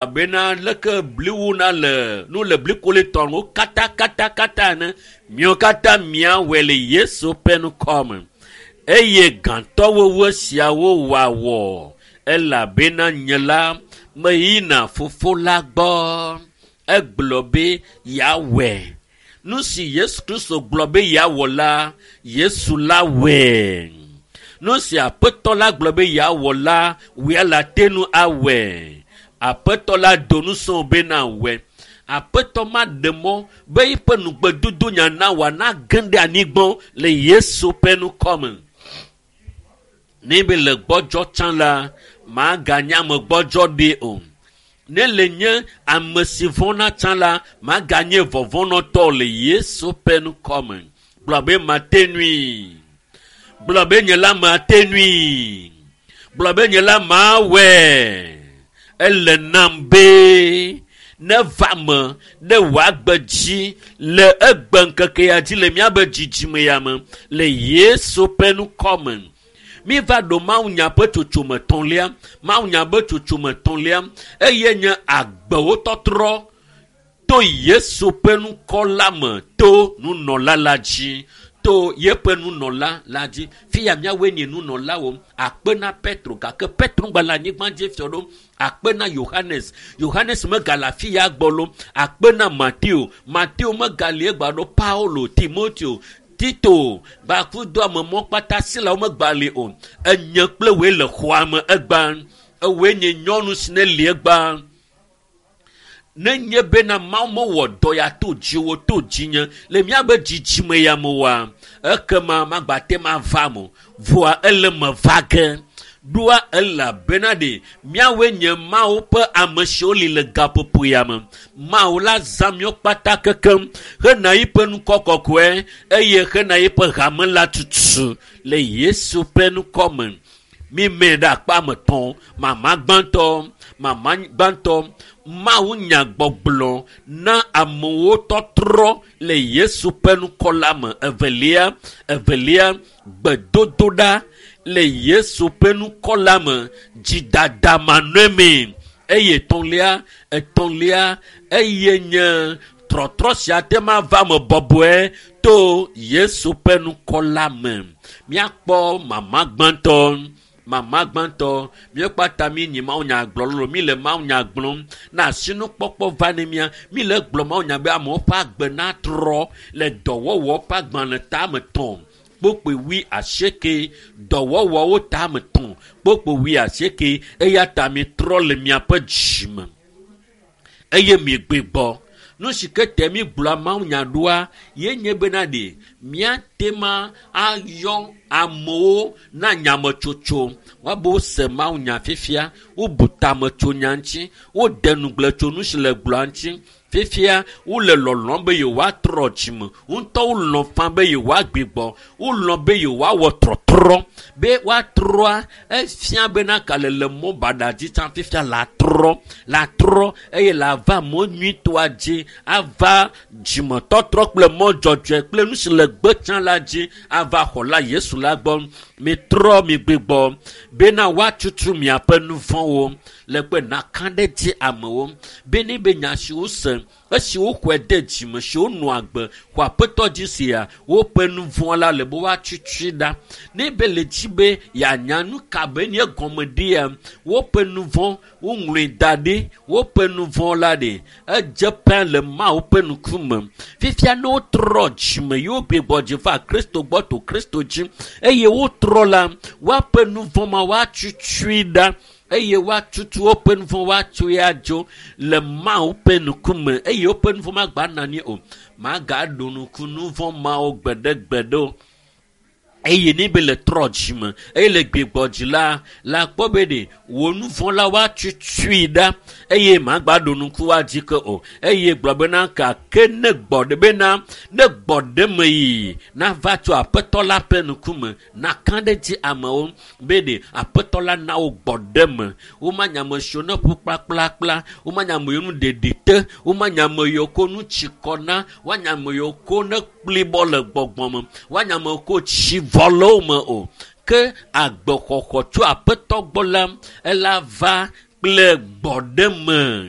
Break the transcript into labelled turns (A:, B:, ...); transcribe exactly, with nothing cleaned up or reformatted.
A: Abena leke bli wuna le nu le blikole tɔn wo katakatakata ene miawo katã miawɔe le Yesu ƒe ŋkɔ me. Eye gãtɔwowo siawo wòawɔ elabena nye la meyina fofo la gbɔ. Egblɔ be yeawɔe. Nu si Yesu Kristo gblɔ be yeawɔ la, Yesu la wɔe. Nu si Aƒetɔ la gblɔ be yeawɔ la, wòe le ate ŋu awɔe. Aƒetɔ la do ŋusẽ be nawɔe. Aƒetɔ maɖe mɔ be eƒe nugbedodo nya na wòanage ɖe anyigba le Yesu ƒe ŋkɔ me. Ne be le gbɔdzɔ tsã la, maganye ame gbɔdzɔ ɖi o. Ne le nye ame si vɔ̃na tsã la, maganye vɔvɔ̃nɔtɔ le Yesu ƒe ŋkɔ me. Gblɔ be mate ŋui. Gblɔ be nye la mate ŋui. Gblɔ be nye la mawɔe. Ele nam be neva me ɖe wòagbe dzi le egbe ŋkeke ya dzi le míabe dzidzime ya me le Yesu ƒe ŋkɔ me. Míva ɖo mawunya ƒe tsotsome etɔ̃lia, mawunya ƒe tsotsome etɔ̃lia eye nye agbewo tɔtrɔ to Yesu ƒe ŋkɔ la me to nunɔla la dzi to yeƒe nunɔla la dzi. Fia míawoe nye nunɔlawo akpe na Petro gake Petro ŋgba le anyigba dzi fiɔ ɖo akpe na Yohanes Yohanes megale afi ya gbɔ lo akpe na Mateo Mateo megali egba ɖo Paulo Timoteo Tito gbakudo ame mɔ kpata si la womegba li o. Enye kple woe le xɔa me egba. Ewoe nye nyɔnu si ne li egba. Nenye bena Mawu mewɔ dɔ ya to dziwò to dzinye le míabe dzidzime ya me oa, ekema magba te ma va me o. Vɔa ele me va ge. Ɖoa elabena ɖe míawoe nye Mawu ƒe ame siwo li le gaƒoƒo ya me. Mawu la zã míawo kpata kekem hena yiƒe ŋkɔ kɔkɔe eye hena yiƒe hame la tutu le Yesu ƒe ŋkɔ me. Mímee ɖe akpa me tɔ̃, mama gbãtɔ, mama gbãtɔ, Mawu nya gbɔgblɔ na amewo tɔtrɔ le Yesu ƒe ŋkɔ la me. Evelia, evelia, gbedodoɖa le Yesu ƒe ŋkɔ la me, dzidada manɔmee. Eye etɔ̃lia, etɔ̃lia, eye nye trɔtrɔ sia te ma va me bɔbɔe to Yesu ƒe ŋkɔ la me. Míakpɔ mama gbãtɔ. Mama gbãtɔ, míekpata mí nyi mawunya gblɔ lolo, mí le mawunya gblɔm na asinukpɔkpɔ va ne mía. Mí le gblɔ mawunya be amewo ƒe agbe natrɔ le dɔwɔwɔ ƒe agbalẽ tame tɔ̃ kpokpoe wui asieke, dɔwɔwɔwo tame tɔ̃ kpokpoe wui asieke eya ta mitrɔ le miaƒe dzime eye miegbe gbɔ. Nu si ke te mi gblɔa mawunya ɖoa ye nye bena ɖe míate ma ayɔ amewo na nyametsotso. Woabe wose mawunya fifia, wobu tame tso nya ŋuti, wode ŋugble tso nu si le gblɔa ŋuti. Fifia wole lɔlɔ̃m be yewoatrɔ dzime. Ŋutɔ wolɔ̃ fã be yewoagbe gbɔ. Wolɔ̃ be yewoawɔ trɔtrɔ. Be woatrɔa, efia bena ka le le mɔ baɖa dzi tsã fifia la trɔ, la trɔ eye la va mɔ nyuitɔa dzi, ava dzimetɔtrɔ kple mɔ dzɔdzɔe kple nu si le gbe tsã la dzi ava xɔ la Yesu la gbɔ. Mitrɔ migbe gbɔ bena woatutu miaƒe nu vɔ̃wo le kpe naka ɖe dzi amewo be ne be nya si wose esi woxɔe de dzime si wonɔ agbe xɔ aƒetɔ dzi sia woƒe nu vɔ̃ la le be woatutui ɖa. Ne be le dzi be yeanya nu ka be nye gɔme ɖia, woƒe nu vɔ̃ woŋlɔe da ɖi, woƒe nu vɔ̃ la ɖe edze pɛ le Mawu ƒe ŋkume. Fifia ne wotrɔ dzime ye wogbe gbɔ dzi va Kristo gbɔ to Kristo dzi eye wotrɔ la, woaƒe nu vɔ̃ ma woatutui ɖa eye woatutu woƒe nu vɔ̃ woatsoe adzo le Mawu ƒe ŋkume eye woƒe nu vɔ̃ magba nɔ anyi o. Magaɖo ŋku nu vɔ̃ mawo gbeɖegbeɖe o. Eye ne be le trɔ dzime eye le gbegbɔ dzi la, la kpɔ be ɖe wò nu vɔ̃ la woatutui ɖa eye magba ɖo ŋku woadzi ke o. Eye gblɔ bena gake ne gbɔ ɖe bena ne gbɔ ɖe me yi nava tso Aƒetɔ la ƒe ŋkume naka ɖe dzi amewo be ɖe Aƒetɔ la na wo gbɔ ɖe me. Womanya ame siwo ne ƒu kplakplakpla, womanya ame yiwo nu ɖeɖi te, womanya ame yiwo ko nu tsi kɔ na, woanya ame yiwo ko ne kplibɔ le gbɔgbɔ me, woanya ame yiwo ko tsi vɔ le wo me o. Ke agbexɔxɔ tso Aƒetɔ gbɔ la, ela va kple gbɔɖeme.